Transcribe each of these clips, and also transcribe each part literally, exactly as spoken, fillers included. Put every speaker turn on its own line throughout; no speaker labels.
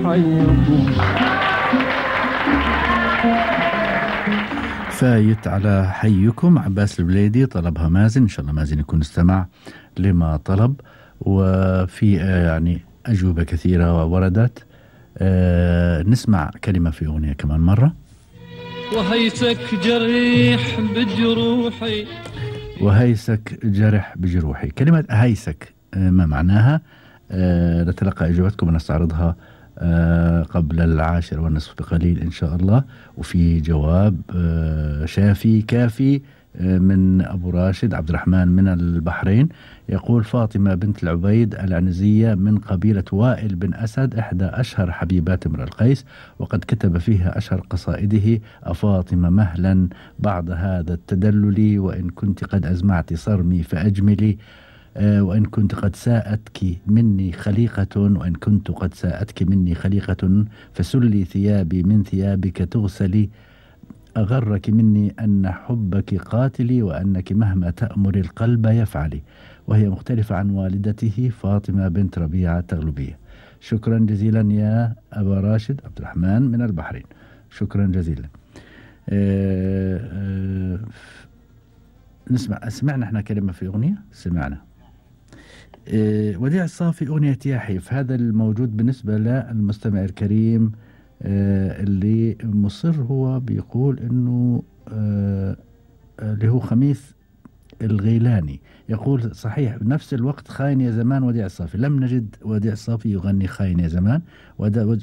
حيكم.
فايت على حيكم عباس البليدي، طلبها مازن، إن شاء الله مازن يكون استمع لما طلب. وفي يعني أجوبة كثيرة وردت. أه نسمع كلمة في أغنية كمان مرة.
وهيسك جريح بجروحي،
وهيسك جرح بجروحي. كلمة هيسك أه ما معناها؟ أه نتلقى إجابتكم ونستعرضها أه قبل العاشر والنصف بقليل إن شاء الله. وفي جواب أه شافي كافي أه من أبو راشد عبد الرحمن من البحرين، يقول فاطمة بنت العبيد العنزية من قبيلة وائل بن أسد، إحدى أشهر حبيبات امرئ القيس، وقد كتب فيها أشهر قصائده: أفاطمة مهلا بعد هذا التدلل، وإن كنت قد أزمعت صرمي فأجملي، أه وإن كنت قد ساءتك مني خليقة، وإن كنت قد ساءتك مني خليقة فسلي ثيابي من ثيابك تغسلي، أغرك مني أن حبك قاتلي، وأنك مهما تأمر القلب يفعلي. وهي مختلفة عن والدته فاطمة بنت ربيعة التغلبية. شكرا جزيلا يا أبا راشد عبد الرحمن من البحرين، شكرا جزيلا. أه أه نسمع سمعنا احنا كلمة في أغنية سمعنا أه وديع الصافي أغنية ياحيف. هذا الموجود بالنسبة للمستمع الكريم أه اللي مصر، هو بيقول انه أه اللي هو خميس الغيلاني، يقول صحيح بنفس الوقت خاين يا زمان وديع الصافي. لم نجد وديع الصافي يغني خاين يا زمان. ودا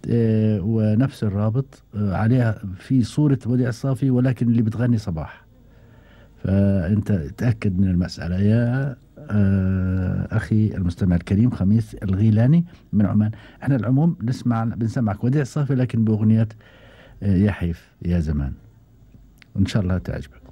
أه ونفس الرابط أه عليها في صورة وديع الصافي، ولكن اللي بتغني صباح. فأنت تأكد من المسألة يا أه أخي المستمع الكريم خميس الغيلاني من عمان. احنا العموم نسمع بنسمعك وديع الصافي لكن بأغنية أه يحيف يا زمان، وإن شاء الله تعجبك.